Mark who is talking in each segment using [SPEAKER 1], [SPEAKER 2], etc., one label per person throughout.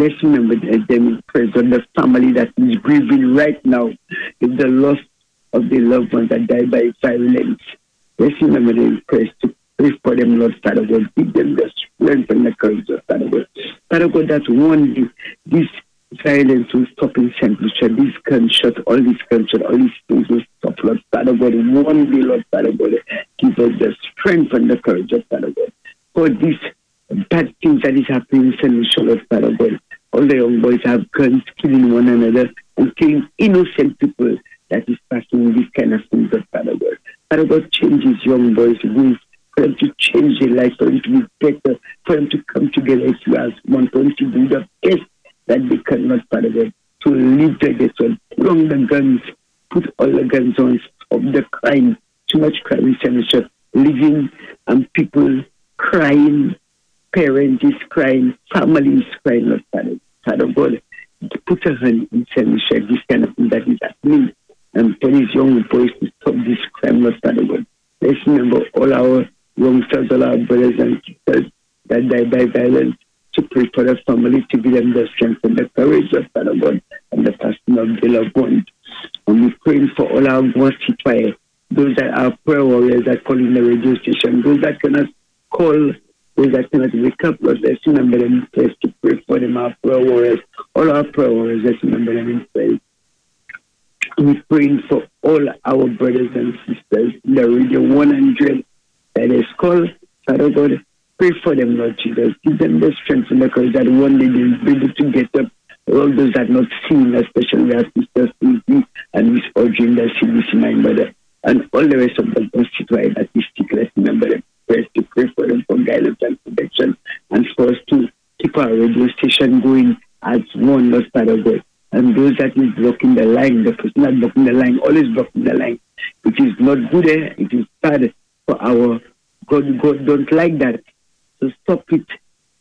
[SPEAKER 1] Let's remember them in prayers on the family that is grieving right now with the loss of their loved ones that died by violence. Let's remember them in prayers to pray for them, Lord Father God. Give them the strength and the courage, Lord Father God. Father God, that one day this violence will stop in St. Lucia, this gunshot, all these gunshot, all these things will stop, Lord Father God. One day, Lord Father God, give us the strength and the courage, Lord Father God, for this bad things that is happening in St. Lucia, Lord Father God. All the young boys have guns, killing one another and killing innocent people that is passing this kind of things, Lord Father God. Father God, change these young boys' ways, for them to change their life, for them to be better, for them to come together as you as one, for them to do the best that they can, Lord Father God, to live together. So put on the guns, put all the guns on, stop the crime. Too much crime in St. Lucia. Living and people crying, parents is crying, family is crying, Lord Father. Father God, put a hand in St. Lucia, this kind of thing that is happening. And for these young boys to stop this crime, Lord Father God. Let's remember all our youngsters, all our brothers and sisters that die by violence, to pray for the family, to give them the strength and the courage, Lord Father God, and the passing of the loved ones. And we're praying for all our grand citoyens, those that are prayer warriors that call in the radio station, those that cannot call, those that cannot wake up, Lord, let's remember them in prayers to pray for them, our prayer warriors, all our prayer warriors, let's remember them in prayers. We're praying for all our brothers and sisters in the Radio 100 that is called, Father God, pray for them, Lord Jesus. Give them the strength and the courage that one day they'll be able to get up. All those that not seen, especially our sister Susie and Miss Audrey in the CBC, my mother, and all the rest of the constituents that is sick. Let's remember them. Prayers to pray for them for guidance and protection, and for us to keep our radio station going as one, Lord Father God. And those that is blocking the line, the person that blocking the line, always blocking the line. It is not good, eh? It is bad for our God. God don't like that. So stop it.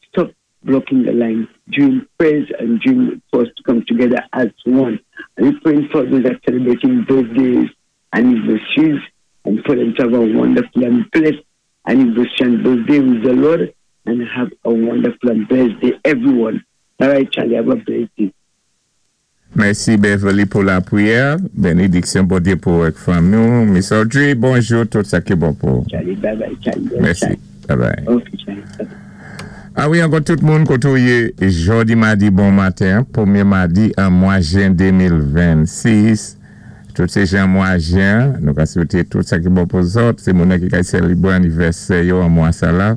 [SPEAKER 1] Stop blocking the line during prayers and during for us to come together as one. And we praying for those that are celebrating birthdays, anniversaries, and for them to have a wonderful and blessed anniversary and birthday with the Lord, and have a wonderful and blessed day, everyone. All right, Charlie, have a blessed day.
[SPEAKER 2] Mèsi Beverly pou lapriyè. Benediksyon Bondyé pou ak fanmi nou. Miss Audrey, bonjou, tout sa ki bon pou.
[SPEAKER 1] Charlie, bye bye, Charlie.
[SPEAKER 2] Mèsi. Bye bye.
[SPEAKER 1] Ok, Charlie. Bye.
[SPEAKER 2] A wi, ankò tout moun koté ou yé jòdi madi bon maten, pwémyé madi an mwa jen 2026. Tout sé jan mwa jen, nou ka swété tout sa ki bon pou zòt, sé moun ki kay sélébwé anivèsè yo an mwa sa la.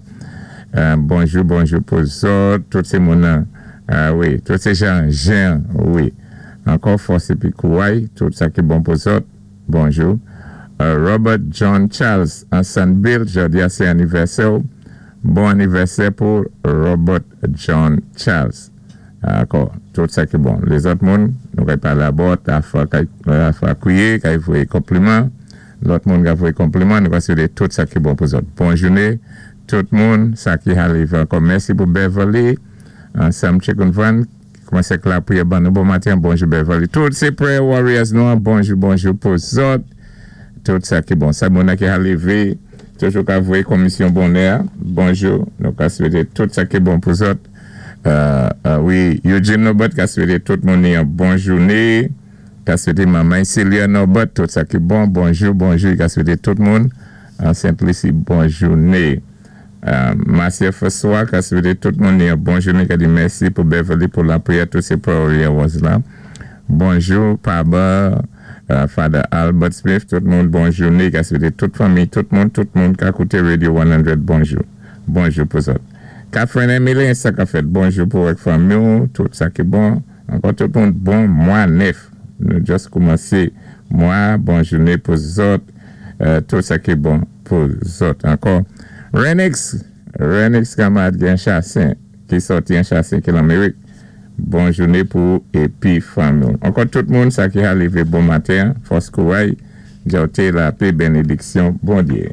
[SPEAKER 2] Bonjou, bonjou pou zòt, tout sé moun a wi, tout sé jan jen, wi. Ankò fòs épi kouway, tout sa ki bon pou zòt. Bonjou. Robert John Charles an Sandbill, jòdi a sé anivèsè ou. Bon anivèsè pou Robert John Charles. Ankò, tout sa ki bon. Lézòt moun, nou kay palé abòt, afa kay afa kwiyé, kay voyé konpliman. Lòt moun ka voyé konpliman, nou ka swété tout sa ki bon pou zòt. Bon jouné, tout moun, sa ki arivé ankò. Mèsi pou Beverly, ansanm Chicken Van, ki koumansé ak lapriyè ban nou bon maten. Bonjou Beverly. Tout sé prayer warriors nou an, bonjou, bonjou pou zòt. Tout sa ki bon. Sa moun ki arivé, toujou ka voyé komisyon bonè. Bonjou, nou ka swété tout sa ki bon pou zòt. Wi, Eugene Norbert ka swété tout moun yon bon jouné. Ka swété manman Celia Norbert tout sa ki bon. Bonjou, bonjou. I ka swété tout moun an Saint-Lucie bon jouné. Marcia François ka swété tout moun yon bon jouné. Ka di mèsi pou Beverly pou lapriyè tout sé prayer was la. Bonjou, Papa, Father Albert Smith, tout moun bon jouné. Ka swété tout fanmi, tout moun ka kouté Radio 100, bonjou. Bonjou pou zòt. Catherine Emily, sa ka fèt bonjou pou ak fanmi, tout sa ki bon. Ankò tout moun bon mwa nèf. Nou just koumansé mwa, bon jouné pou zòt, tout sa ki bon pou zòt. Ankò, Renix, Renix kanmarad gen Chassin, ki sòti an Chassin ki l'Amérik. Bon jouné pou épi fanmi. Ankò tout moun sa ki arivé bon maten, fòs kouway, djòté lapè benediksyon Bondyé.